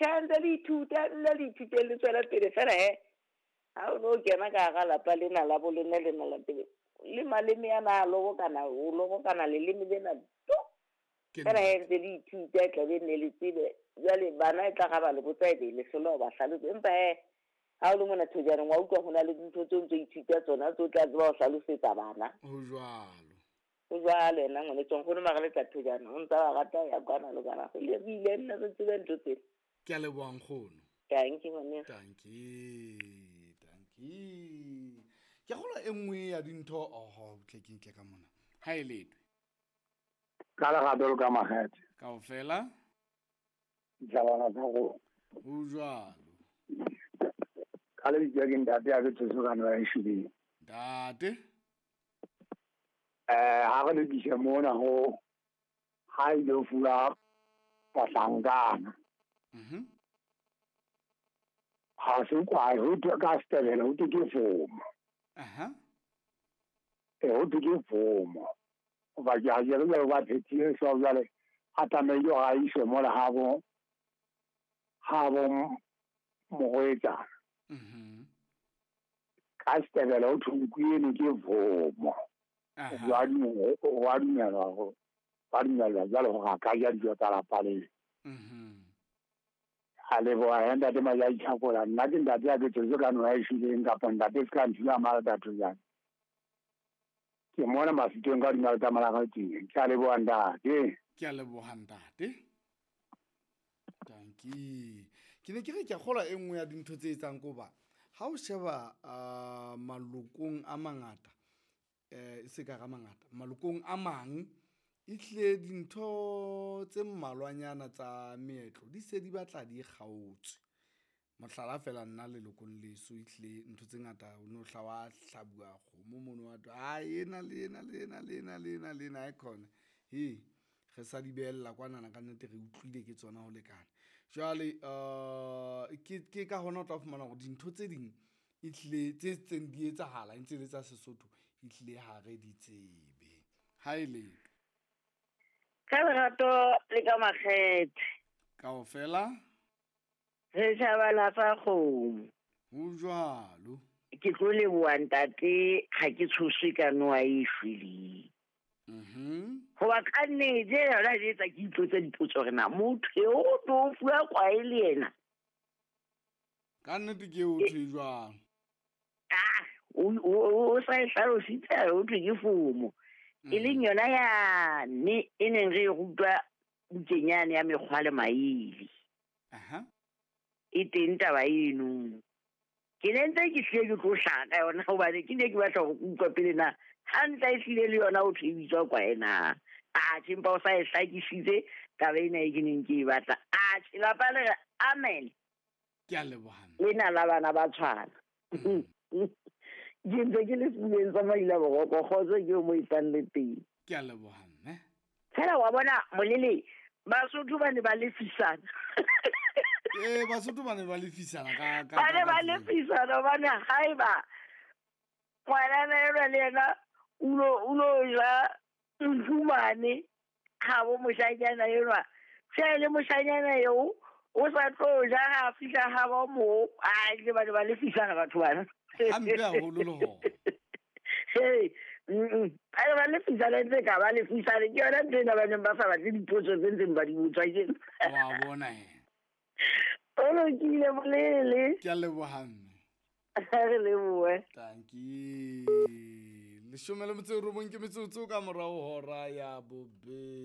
Tjhe, ntse le ithuta, nna le ithuteng le tswela pele fela he. Ha o no kena ka hara lapa lena la bo lona lena la pele, le maleme ana a lobokana, o lobokana leleme lena to. Fela he ntse le ithuta e tla be nne le tsebe. Jwale bana e tla ga ba le botsa e be le hlola ho ba hlalosa. Empa he ha o le mona thojaneng wa utlwa ho na le dintho tseo ntso ithuta tsona tseo tla tseba ho hlalosetsa bana. Ho jwalo. Ho jwalo yena ngwaneso nkgono mara le tla thojana o ntsa ba rata ho ya kwana le kwana. Re ile nne re tsebe ntho tsena. Ke a leboha nkgono. Tanki ngwaneso. Tanki, tanki. Ke kgolwa e nngwe ya dintho oho tle ke ntle ka mona. Ha e letwe. Ka lerato le ka makgethe. Kaofela. Ditjhabana tsa rona. Ho jwalo. Ka lebitso ke ntate ya ke tsotso ka noa e shweleng. Ntate. Ha re lokise mona ho ha ile fuwa bahlankana. Ha se kwa ho thwe ka Setebele ho thwe ke fomo. Ho thwe ke fomo. Hoba ke a jere jwale ba phethile so jwale a tlamehile hore a iswe mola ha bo morwetsana. Ka Setebele ho thwe nku eno ke fomo. Wa dumelwa hore ba dumellwa jwale hore a ka ja dijo tsa lapa leo. A leboha ya ntate Majai Tjhakola. Nna ke ntate ya ke tsotso ka noha e shweleng kapa ntate se ka nthula mala jang. Ke mona Mafitong ka hodima letamo la Gauteng. Ke a leboha ntate. Ke a leboha ntate. Tanki. Ke ne ke re ke a kgolwa e nngwe ya dintho tse etsang ko ba ha o sheba malokong a mangata e se ka ra mangata malokong a mang e tlile dintho tse mmalwanyana tsa meetlo di se di batla di kgaotswe. Mohlala fela nna lelokong leso e tlile ntho tse ngata o no hla wa hlabuwa kgomo mono wa thwe, "Ah, ena le ena le ena le ena le ena le ena ha e khona." He, re sa di behella kwanana ka nnete re utlwile ke tsona ho lekana. Jwale ke ka hona o tla fumana hore dintho tse ding e tlile tse tseng di etsahala e ntse le tsa Sesotho e tlile ha re di tsebe. Ha e le ka lerato le ka makgethe. Kaofela re tjhabala tsa kgomo. Ho jwalo. Ke tlo leboha ntate ha ke tshoswe ka noha e shweleng. Hoba ka nnete yona e etsa ke itlotse dipotso hore na motho eo o tlo fuwa kwae le yena. Ka nnete ke o thwe jwang? Ah, o sa e hlalositse o thwe ke fomo. E leng yona ya ne e neng re e rutwa bukeng yane ya mekgwa le maele. E teng taba eno. Ke ne ntse ke hlile ke tlo hlaha ka yona hobane ke ne ke batla ho utlwa pele na hantle e hlile le yona o thwe e bitswa kwae na. Atjhe, empa o sa e hlakisitse taba ena e ke neng ke e batla. Atjhe, lapa le re amen. Ke a leboha. Lena la bana ba tshwana. Ke ntse ke le sebuleng sa Maila Boroko, kgotso ke o mo etsang le teng. Ke a leboha mme. Fela wa bona molele Basotho ba ne ba lefisana. Basotho ba ne ba lefisana ka ba ne ba lefisana hobane haeba ngwanana enwa le yena o lo ja nfumane ha bo moshanyana enwa. Tjhe, le moshanyana eo o sa tlo ja ha fihla ha ba mo a ke ba ne ba lefisana batho bana. Hampe haholo le hona. Hey, ba ne ba lefisana ntse ka ba lefisana ke yona ntho ena ba neng ba sa batle dipotso tse ntseng ba di botswa ke. Wa bona he. O lokile bolele. Ke a leboha mme. Re lebohe. Tanki. 18 ke metsotso ka morao hora ya bobedi.